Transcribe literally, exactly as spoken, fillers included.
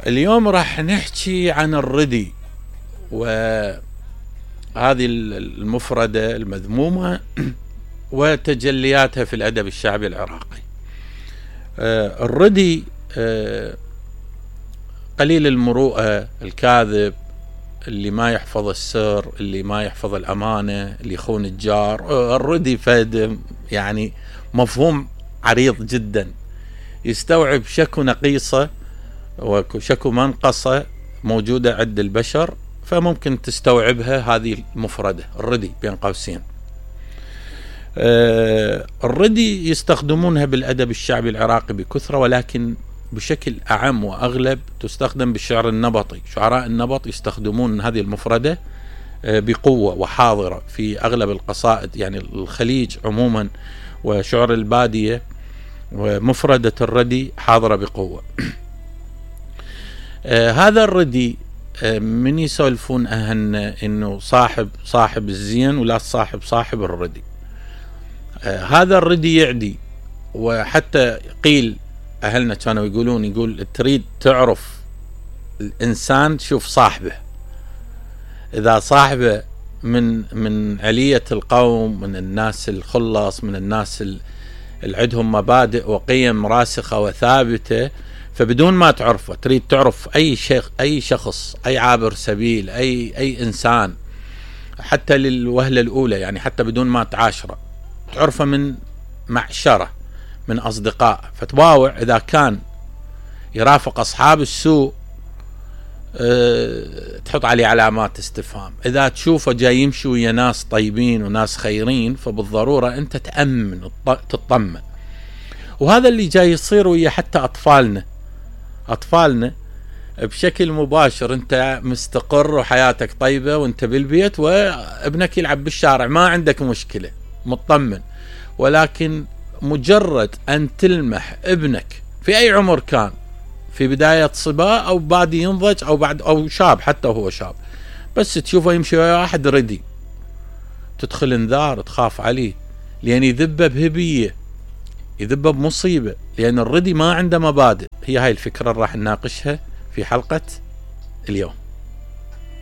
اليوم راح نحكي عن الردي، وهذه المفردة المذمومة وتجلياتها في الأدب الشعبي العراقي. الردي قليل المروءة، الكاذب، اللي ما يحفظ السر، اللي ما يحفظ الأمانة، اللي يخون الجار. الردي فد يعني مفهوم عريض جدا، يستوعب شكو نقيصة وشكو منقصة موجودة عند البشر، فممكن تستوعبها هذه المفردة الردي بين قوسين. آه الردي يستخدمونها بالأدب الشعبي العراقي بكثرة، ولكن بشكل أعم وأغلب تستخدم بالشعر النبطي. شعراء النبط يستخدمون هذه المفردة آه بقوة وحاضرة في أغلب القصائد، يعني الخليج عموما وشعر البادية، ومفردة الردي حاضرة بقوة. آه هذا الردي آه من يسولفون أهلنا إنه صاحب صاحب الزين ولا صاحب صاحب الردي. آه هذا الردي يعدي، وحتى قيل أهلنا كانوا يقولون يقول تريد تعرف الإنسان شوف صاحبه، إذا صاحبه من من علية القوم، من الناس الخلص، من الناس اللي عندهم مبادئ وقيم راسخة وثابتة، فبدون ما تعرفه تريد تعرف أي شيخ أي شخص، أي عابر سبيل، أي أي إنسان، حتى للوهلة الأولى، يعني حتى بدون ما تعاشره، تعرفه من معشرة، من أصدقاء. فتباوع إذا كان يرافق أصحاب السوء أه تحط عليه علامات استفهام. إذا تشوفه جاي يمشي ويا ناس طيبين وناس خيرين، فبالضرورة أنت تأمن تطمن. وهذا اللي جاي يصير ويا حتى أطفالنا أطفالنا بشكل مباشر. أنت مستقر وحياتك طيبة وأنت بالبيت، وابنك يلعب بالشارع، ما عندك مشكلة، مطمن. ولكن مجرد أن تلمح ابنك في أي عمر كان، في بداية صبا أو بادي ينضج أو بعد أو شاب، حتى هو شاب، بس تشوفه يمشي ويا واحد ردي، تدخل انذار، تخاف عليه، لأن يذبه بهبية، يذبه بمصيبة، لأن الردي ما عنده مبادئ. هي هاي الفكرة اللي راح نناقشها في حلقة اليوم.